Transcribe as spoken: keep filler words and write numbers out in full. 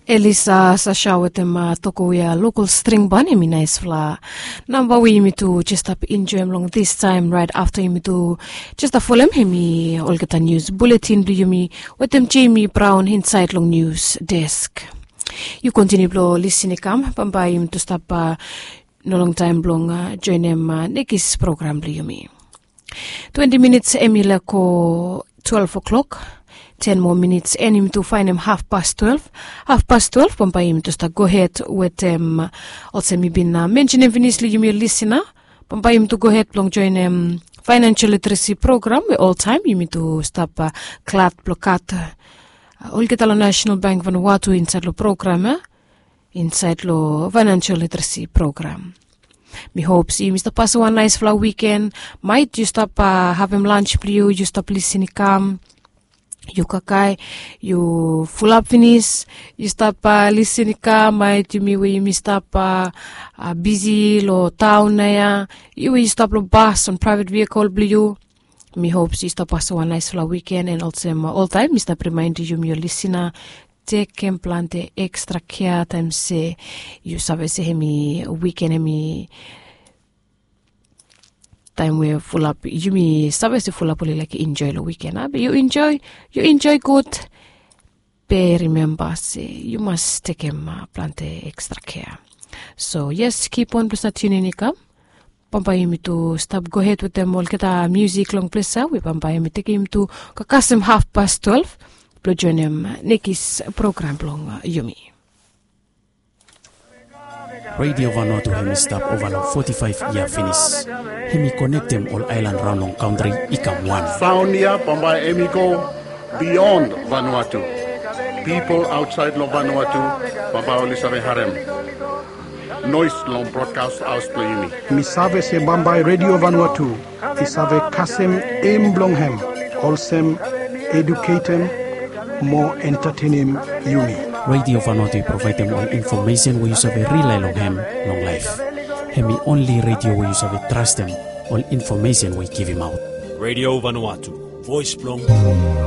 Elisa sasha wetem toko we ya lokol string ban, hemi naisfala namba we yumi tu jes stap enjoem long this taem raet afta yumi tu jes stap folem hemi olgeta nius buletin blong yumi wetem Jemi Braon insaed long nius desk. Yu kontiniu blong lisin i kam, bambae yumi tu stap no long taem blong joenem nekis program blong yumi. Twenti minits hemi laek go twelef o'klok. Ten moa minits and yumi tu faenem hafpas twelef. Hafpas twelef bambae yumi tu stap gohed wetem olsem mi bin mensenem finis long yumi ol lisina. Bambae yumi tu gohed blong joenem faenensel literesi program we oltaem yumi tu stap glad blong gat olgeta long Nasenal Bank Vanuatu insaed long program ya, insaed long faenensel literesi program. Mi hop se yumi stap pasem wan naesfala wiken. Maet yu stap havem lans blong yu, yu stap lisin i kam, yu kakae, yu fulap finis, yu stap lisin i kam. Maet yumi we yumi stap bisi long taon naoia, yu we yu stap long bas o praevet vehikel blong yu, mi hop se yu stap pasem wan naesfala wiken. And olsem oltaem mi stap rimaenem yumi ol lisina, tekem plante ekstra kea taem se yu save se hemi wiken hemi taem we fulap, yumi save se fulap oli laek enjoe long wiken, a be yu enjoe, yu enjoe gud. Be rimemba se yu mas tekem plante ekstra kea. So yes, kip on blong stap tiunin i kam. Bambae yumi tu stap gohed wetem olgeta miusik long ples ya we bambae yumi tekem yumi tu go kasem hafpas twelef blong joenem nekis program blong yumi. Redio Vanuatu hemi stap ova long foti faef yia finis. Hemi konektem ol aelan raon long kantri i kam wan. Saon ya bambae hemi go bion Vanuatu. Pipol aotsaed long Vanuatu bambae oli save harem noes long brodkas haos blong yumi. Mi save se bambae Redio Vanuatu i save kasem em blong hem olsem eduketem mo entatenem yumi. Redio Vanuatu i provaedem ol infomesen we yu save rilae long hem long laef. Hemi onli redio we yu save trastem ol infomesen we i givimaot. Redio Vanuatu, voes blong